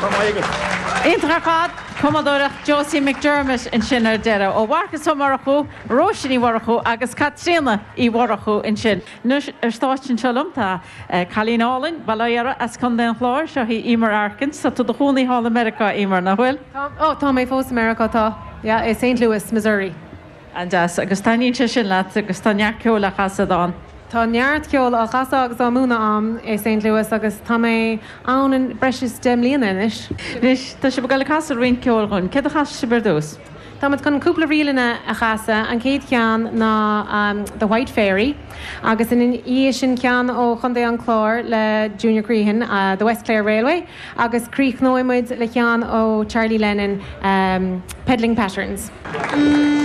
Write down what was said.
Go raibh maith agat. Iontach ar fad! Cumadóireacht Josie McDermott ansin ar deireadh. Ó Mharcas Ó Murchú, Róise Ní Mhurchú agus Caitríona Uí Mhurchú ansin. Anois ar stáitse anseo liom tá cailín álainn, bail ó Dhia uirthi, as Contae an Chláir. Seo í Eimear Arkin. Tá tú i do chónaí thall i Meiriceá, Eimear, nach bhfuil? Tá, oh, tá mé fós i Meiriceá, tá. Yeah, i Saint Louis, Missouri. An-deas. Agus taitníonn sé sin leat agus tá neart ceoil á chasadh ann. Tá neart ceoil á chasadh agus á múineadh a'm i Saint Louis agus tá mé ann breis is 10 mbliana anois. Anois, tá sibh ag dul ag casadh roinnt ceoil dhúinn. Céard a chasfaidh sibh ar dtús? Táimid chun cúpla ríleanna a chasadh. An chéad cheann ná The White Fairy agus ina dhiaidh sin ceann ó Chontae an Chláir le Junior Crehan, The West Clare Railway agus críochnóidh muid le ceann ó Charlie Lennon, Peddling Patterns.